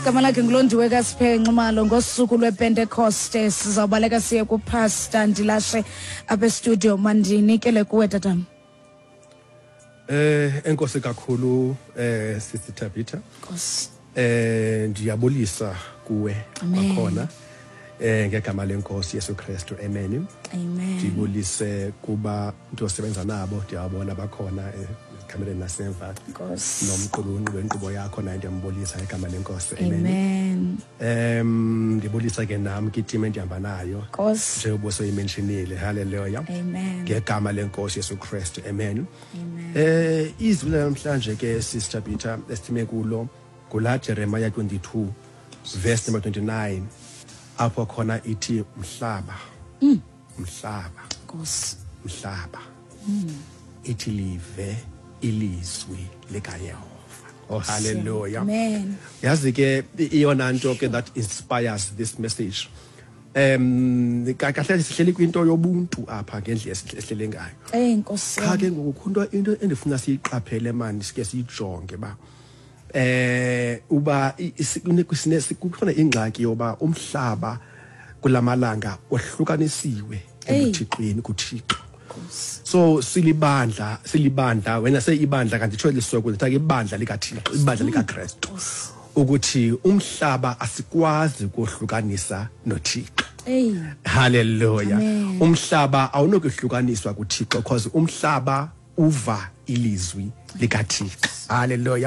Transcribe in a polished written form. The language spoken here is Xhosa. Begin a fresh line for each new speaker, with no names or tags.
Igama lakhe nguLondiwe kaSiphe Nxumalo. Ngosuku lwePentekoste sizawubaleka siye kuPastor Ndilashe apha estudio. Mandinikele kuwe, tatam.
Enkosi kakhulu, Sister Tabitha.
Nkosi.
Ndiyabulisa kuwe
Amen.
kwakhona ngegama lenkosi Yesu Kristu. Amen.
Amen.
Ndibulise kuba ntosebenza nabo, ndiyabona bakhona ekamereni nasemva.
Nkosi.
Nomqulunqi wenkqubo yakho naye ndiyambulisa ngegama lenkosi. Amen.
Amen.
Ndibulisa ke nam kwitim endihamba nayo.
Nkosi.
Njengoba usoyimentionile. Hallelujah.
Amen.
Ngegama lenkosi Yesu Kristu. Amen.
Amen.
Izwi namhlanje ke, Sister Peter, esime kulo kula Jeremiah 22 verse number 29, apho khona ithi mhlaba, mhlaba,
Nkosi.
mhlaba, ithi live ilizwi likaYehova. Oh, hallelujah.
Amen.
Yazi ke, iyona nto ke that inspires this message, kahle sihleli kwinto yobuntu apha ngendlela esihlele ngayo.
Ey, Nkosi.
Qha ke ngoku into endifuna siyiqaphele mani, sike siyijonge ba uba kukhona ingxaki yoba umhlaba kulamalanga ohlukanisiwe
Ey.
ebuthixweni, kuThixo. So silibandla wena seyibandla, kanti tsho lisoko ndithi ibandla likaThixo, ibandla likaKristu, ukuthi umhlaba asikwazi ukuhlukanisa noThixo.
Ey.
Hallelujah.
Amen.
Umhlaba awunokuhlukaniswa kuThixo because umhlaba uva ilizwi likaThixo. Hallelujah.